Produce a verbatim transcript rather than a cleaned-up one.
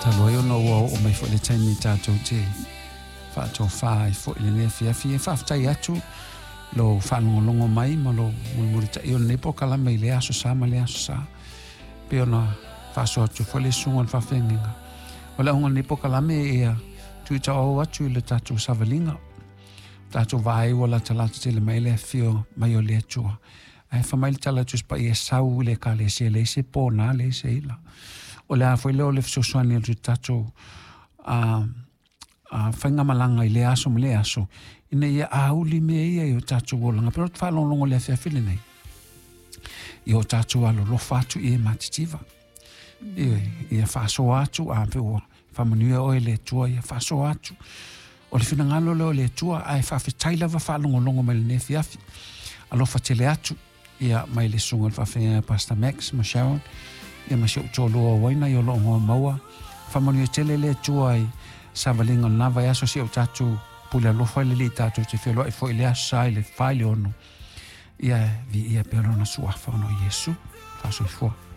Talu ai ona ua oo mai foi le taimi tatou te faatofā ai foi i lenei afiafi. E faafetai atu lou faalogologo mai ma lou mulimulitaia o lenei polokalame i lea aso Sa ma lea aso Sa. Pei ona faasoa atu foi le susuga o le faafeagaiga. O le auga o lenei polokalame ia tuitaoao atu i le tatou savaliga. Tatou vaai ua latalata tele mai le afio mai o le Atua. Ae fai mai le tala Tusi Paia e sau i le ekalesia e leai se pona leai se ila. O le a foi lea o le fesoasoani atu i tatou a, a faigamalaga i lea aso ma lea aso, ina ia auli mea ia i o tatou olaga. Pe o te faalogologo i le afiafi lenei, i o tatou alolofa atu i e matitiva. Ia, ia faasoa atu, a pe ua faamanuia oe le Atua, ia faasoa atu. O le finagalo lea o le Atua, ae faafetai lava faalogologo mai lenei afiafi. Alofa tele atu, ia mai le susuga i le faafeagaiga Pastor Max ma Sharon, ia ma si ou toalua o Waina i o loo goa maua. Faamanuia tele le Atua i savaliga o lena vaiaso si o tatou pule alofa i le Alii tatou te feloai foi i le aso Sa i le fa i le ono. Ia viia pea lona suafa ona o Iesu. Faasoifua.